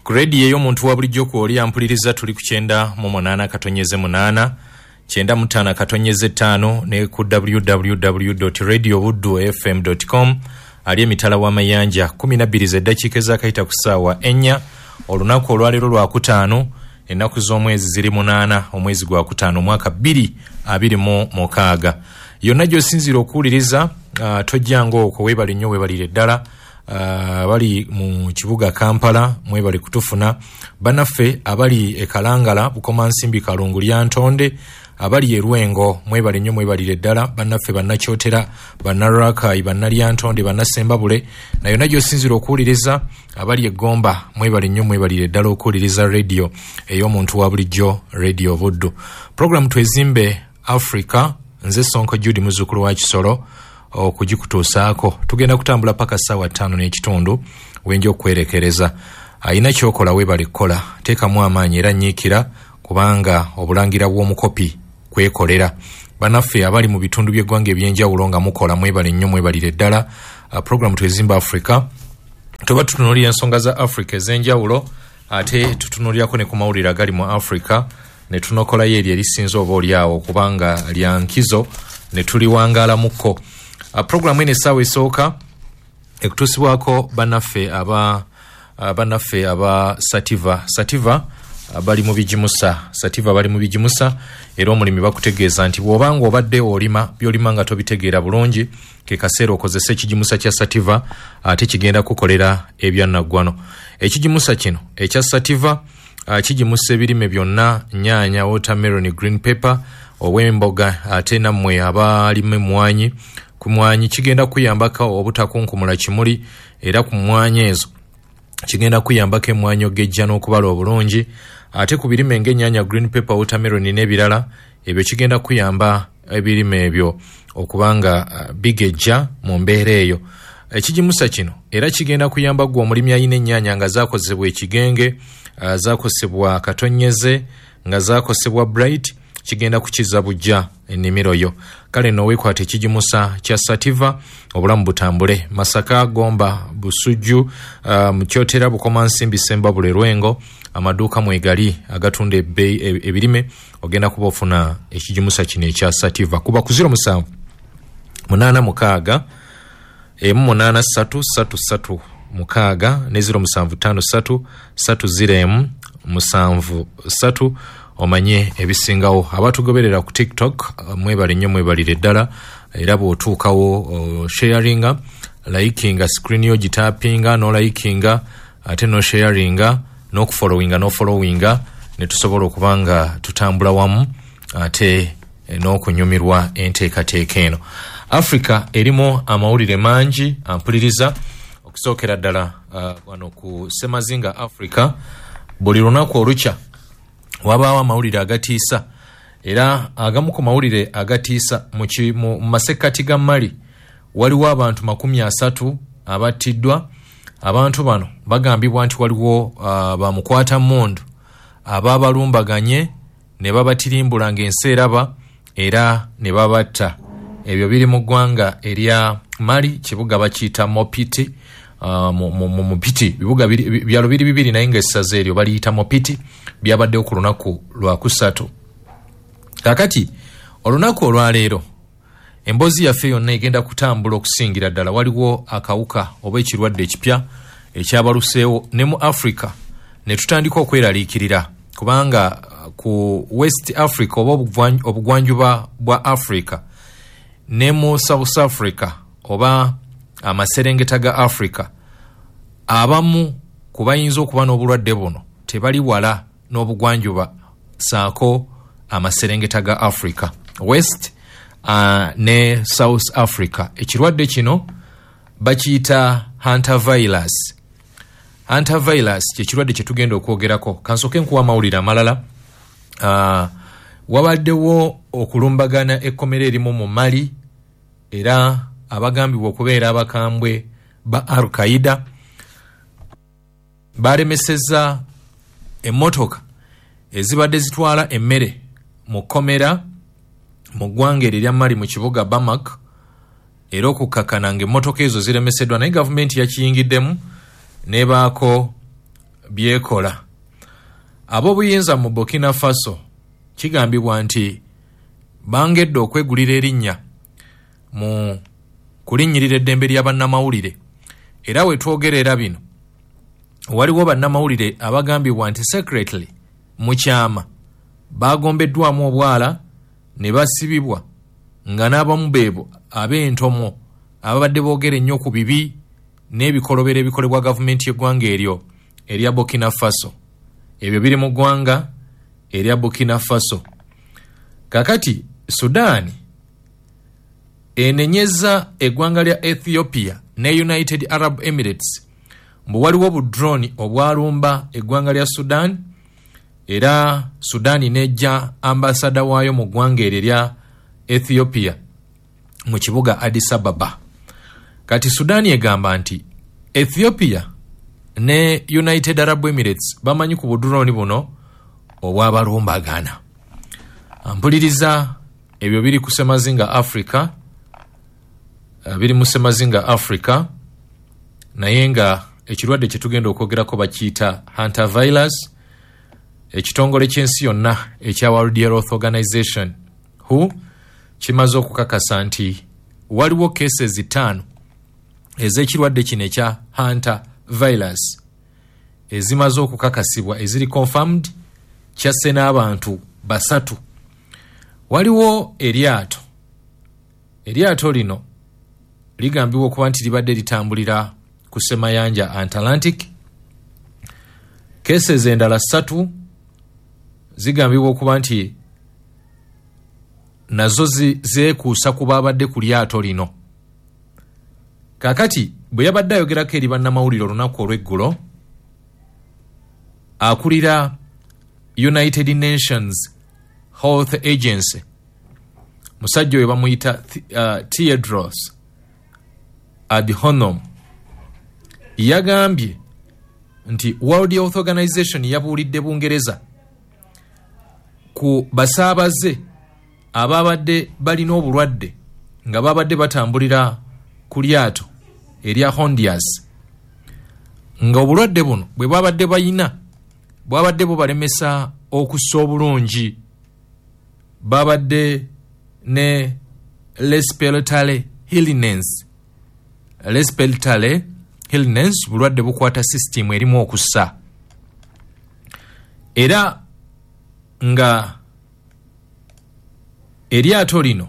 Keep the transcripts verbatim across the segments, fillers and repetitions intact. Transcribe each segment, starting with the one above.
Ku rediyo ey'omuntu wa bulijjo kwoli ampuliriza, tuli ku kyenda mu munaana katonyeze munaana, kyenda mu ttaano katonyeze ttaano, ne ku w w w radio buddu f m com. Ali emitala w'amayanja, kumi na bbiri z'eddakiika ezakayita ku ssaawa ennya. Olunaku olwaleero lwakutaano, ennaku z'omwezi ziri munaana, omwezi gwa kutaano, omwaka bbiri abiri mu mukaaga. Yonna gy'osinziira okuwuliriza, uh, tojjanga okwo. Weebale nnyo, weebalire ddala. Abali uh, mu kibuga Kampala, mwebale kutufuna. Bannaffe abali e Kalangala, Bukomansimbi, Kalungu, Lyantonde, abali e Lwengo, mwebale nnyo, mwebalire ddala. Bannaffe Bannakyotera, Bannarakayi, Bannalyantonde, Bannasembabule, na yonna gy'osinziira okuwuliriza, abali e Gomba, mwebale nnyo, mwebalire ddala okuwuliriza rediyo ey'omuntu wa bulijjo, Radio Buddu. Programu Twezimbe Africa, nze Sonko Jude, muzzukulu wa Kisolo, okugikutuusaako. Tugenda kutambula paka ssaawa ttaano n'ekitundu wenja okwerekereza. Ayina kyokola, weebale kukola, teekamu amaanyi era nyiikira, kubanga obulangira bw'omukopi kwekolera. Bannaffe abali mu bitundu by'eggwanga ebyenjawulo nga mukola, mwebale nnyo, mwebalire ddala. uh, programu Twezimba Africa, tuba tutunuulira ensonga za Africa ez'enjawulo, ate tutunuulirako ne ku mawulire agali mu Africa, ne tunokolayo eryo erisinza oba oliawo kubanga lya nkizo ne tuliwangaalamuko. uh, programu eno essaawa esooka ekutuusibwako bannaffe aba uh, bannaffe aba Sativa. Sativa uh, bali mu bigimusa. Sativa bali mu bigimusa, era omulimi bakutegeeza nti bw'obanga obadde olima, byolima nga tobitegeera bulungi, ke kaseera okozese ekigimusa kya Sativa, ate kigenda kukolera ebyannaggwano. Ekigimusa kino ekya Sativa uh, kigimusa ebirime byonna: nyaanya, watermelon, green pepper, obw'emboga, ate nammwe abalima emmwanyi, ku mwanyi kigenda kuyambako obutakunkumula kimuli, era ku mmwanyi ezo kigenda kuyambako emmwanyi ogejja n'okubala obulungi. Ate ku birime ng'ennyaanya, green pepper, watermelon n'ebirala ebyo, kigenda kuyamba ebirime ebyo okuba nga uh, bigejja mu mbeera eyo. Ekigimusa kino era kigenda kuyamba gwe omulimi alina ennyaanya nga zakozebwa ekigenge, uh, zakosebwa katonyeze, nga zakosebwa Bright, kigenda kukiza bujja ennimiro yo. Kale nno weekwata ekigimusa kya Sativa, obulamu butambule. Masaka, Gomba, Busujju, uh, Mukyotera, Bukomansimbi, Sembabule, Lwengo, amaduuka mwegali agatunda ebirime, ogenda kuba ofuna ekigimusa kino ekya Sativa. Kuba ku zero musanvu munaana mukaaga emu munaana ssatu ssatu ssatu mukaaga ne zero musanvu ttaano ssatu ssatu zero emu musanvu ssatu omanye ebisingawo. Abatugoberera ku TikTok, mwebale nnyo, mwebalire ddala. Era bw'otuukawo uh, sharinga, likinga screen yo, gitapinga n'olikinga, ate nosharinga, n'okufollowinga, n'ofollowinga, ne tusobola okuba nga tutambula wamu ate n'okunyumirwa enteekateeka eno. Africa erimu amawulire mangi ampuliriza. Okusookera ddala, uh, wano ku semazinga Africa, buli lunaku olukya wabaawo amawulire agatiisa, era agamu ku mawulire agatiisa, mu masekkati ga Mali waliwo abantu makumi asatu abattiddwa. Abantu bano bagambibwa nti waliwo uh, bamukwata mundu ababalumbaganye ne babatirimbula ng'ensi eraba era ne babatta. Ebyo biri mu ggwanga erya Mali, kibuga bakiyita Mopiti. uh, mu Mopiti, bibuga byalo biri bibiri, naye nga essaza eryo baliyita Mopiti. Byabaddewo ku lunaku lwakusatu. Kakati olunaku olwaleero emboozi yaffe yonna egenda kutambula okusingira ddala waliwo akawuka oba ekirwadde ekipya ekyabaluseewo ne mu Africa, ne tutandika okweraliikirira, kubanga uh, ku West Africa oba obugwanjuba bwa Africa ne mu South Africa oba amaserengeta ga Africa, abamu ku bayinza okuba n'obulwadde buno tebali wala n'obugwanjuba saako amaserengeta ga Africa, West uh, ne South Africa. Ekirwadde kino bakiyita hantavirus. Hantavirus kyekirwadde kyetugenda okwogerako. Kansooke nkuwa amawulire amalala. uh, wabaddewo okulumbagana ekkomera erimu mu Mali, era abagambibwa okubeera abakambwe ba Al Qaida balemeseza emmotoka ezibadde zitwala emmere mu kkomera mu ggwanga eryo erya Mali, mu kibuga Bamako, era okukkakana nga emmotoka ezo ziremeseddwa, naye gavumenti yakiyingiddemu nebaako byekola. Ab'obuyinza mu Burkina Faso kigambibwa nti bangedde okwegulira erinnya mu kulinnyirira eddembe lya bannamawulire. Era we twogerera bino waliwo bannamawulire abagambibwa nti secretly mu kyama bagombeddwamu obwala ne basibibwa, nga n'abamu beebo ab'entomo ababadde boogera ennyo ku bibi n'ebikolobero ebikolebwa gavumenti y'eggwanga eryo erya Burkina Faso. Ebyo biri mu ggwanga erya Burkina Faso. Kakati Sudan enenyeza eggwanga lya Ethiopia ne United Arab Emirates mbu waliwo budroni obwalumba eggwanga lya Sudan, era Sudan nejja ambasada waayo mu ggwanga eryo erya Ethiopia mu kibuga Addis Ababa. Kati Sudan egamba nti Ethiopia ne United Arab Emirates bamanyi ku budroni buno obwabalumbagana. Mpuliriza, ebyo biri ku Semazinga Africa, biri mu Semazinga Africa, naye nga ekirwadde kye tugenda okwogerako bakiyita hantavirus. Ekitongole ky'ensi yonna ekya World Health Organization W H O kimaze okukakasa nti waliwo cases ttaano ez'ekirwadde kino ekya hantavirus ezimaze okukakasibwa, eziri confirmed, kyasse n'abantu basatu. Waliwo eryato, eryato lino ligambibwa okuba nti libadde litambulira ku ssemayanja Atlantic. Cases endala ssatu zigambibwa okuba nti nazo zeekuusa ku baabadde ku lyato lino. Kaakati bwe yabadde ayogerako eri bannamawulire olunaku olw'eggulo, akulira United Nations Health Agency, musajja oyo bamuyita uh, Tedros Adhanom, yagambye nti World Health Organization yabuulidde Bungereza ku basaabaze ababadde balina obulwadde nga babadde batambulira ku lyato erya Hondias, nga obulwadde buno bwe babadde bayina bwabadde bubalemesa okussa obulungi. Babadde ne respiratory illness, respiratory illness bulwadde bukwata system erimu okussa, era nga eryato lino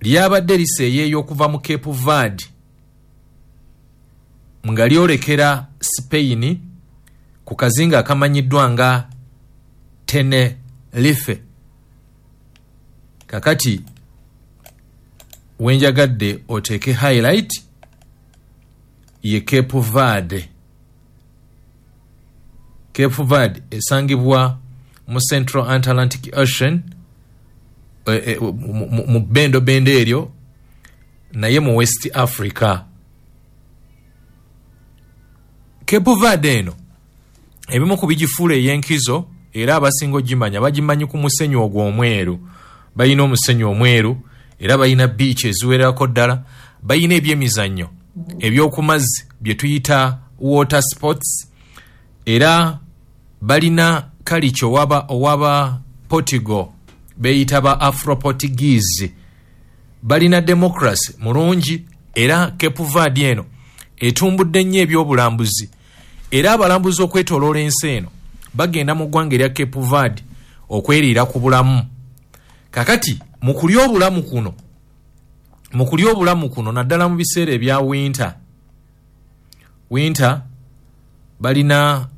lyabadde liseeyeeyo okuva mu Cape Verde nga lyolekera Spain ku kazinga akamanyiddwa nga Tenerife. Kakati wenjagadde oteeke highlight ye Cape Verde. Cape Verde esangibwa mu Central Atlantic Ocean, e, e, mu bendo bendo eryo, naye mu West Africa. Cape Verde eno ebimu ku bigifuula ey'enkizo, era abasinga ogimanya bagimanyi ku musenyu ogwo omweru. Balina omusenyu omweru, era balina beach eziwererako ddala, balina ebyemizannyo ebyokumazzi bye tuyita water sports, era balina kalicho owaba owaba Portugal beyita ba Afro-Portuguese, balina democracy mulungi. Era Cape Verde eno etumbudde nnyo ebyobulambuzi, era abalambuzi okwetooloola ensi eno bagenda mu ggwanga erya Cape Verde okweriira ku bulamu. Kakati mu kulya obulamu kuno mu kulya obulamu kuno naddala mu biseera ebya winter winter balina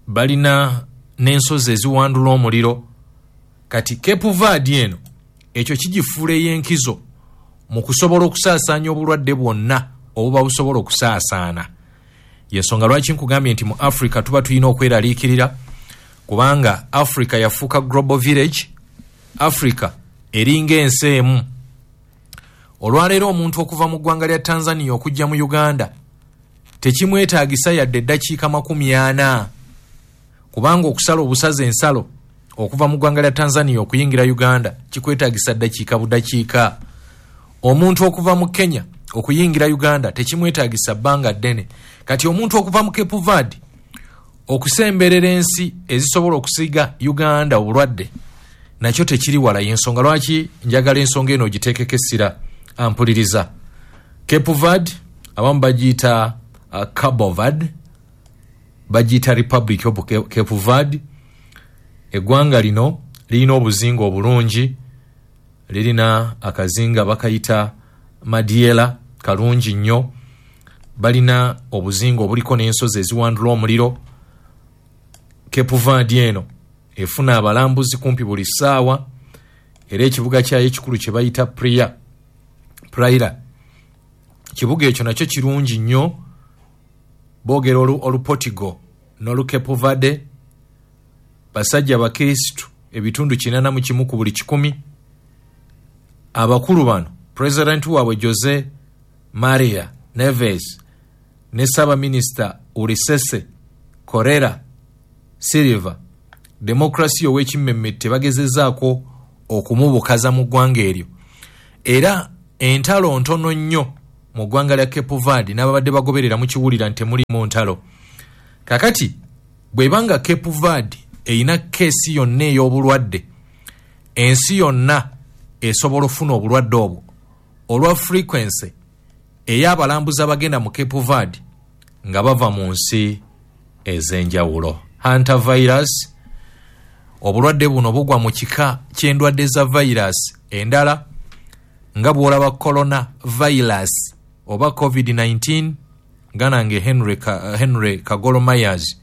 balina n'ensozi eziwandula omuliro. Kati Cape Verde eno ekyo kigifuula ey'enkizo mu kusobola okusaasaanya obulwadde bwonna obuba busobola okusaasaana. Yensonga lwaki nkugambye nti mu Africa tuba tulina okweraliikirira, kubanga Africa yafuuka global village. Africa eringa ensi emu. Olwaleero omuntu okuva mu ggwanga lya Tanzania okujja mu Uganda tekimwetaagisa yadde eddakiika makumi ana, kubanga okusala obusaza ensalo okuva mu ggwanga lya Tanzania okuyingira Uganda kikwetaagisa ddakiika budakiika. Omuntu okuva mu Kenya okuyingira Uganda tekimwetaagisa bbanga ddene. Kati omuntu okuva mu Cape Verde Okusemberera ensi ezisobola okusiiga Uganda obulwadde nakyo tekiri wala. Y'ensonga lwaki njagala ensonga eno ogiteekeko essira. Ampuliriza, Cape Verde abamu bagiyita uh, Cabo Verde, bagiyita Republic of Cape Verde. Eggwanga lino lirina obuzinga obulungi, lirina akazinga bakayita Madiela, kalungi nnyo. Balina obuzinga obuliko n'ensozi eziwandula omuliro. Cape Verde eno efuna abalambuzi kumpi buli ssaawa, era ekibuga kyayo ekikulu kye bayita Praia, Praia, kibuga ekyo nakyo kirungi nnyo. Boogera Olupotigo n'Olucape Verde. Basajja bakristu ebitundu kinana mu kimu ku buli kikumi. Abakulu bano, pulezidenti waabwe Jose Maria Neves ne ssaabaminisita Ulisese Correa Silva, demokrasiya ow'ekimmemmette bagezezaako okumubukaza mu ggwanga eryo. Era entalo ntono nnyo mu ggwanga lya Cape Verde, n'ababadde bagoberera mukiwulira nti temulimu ntalo. Kakati bw'ebanga Cape Verde erina keesi yonna ey'obulwadde, ensi yonna esobola okufuna obulwadde obwo olwa frequency ey'abalambuzi abagenda mu Cape Verde nga bava mu nsi ez'enjawulo. Hantavirus, obulwadde buno bugwa mu kika ky'endwadde za virus endala nga bw'olaba corona virus oba covid nineteen, nga nange Henry, Ka, Henry Kagolo Myers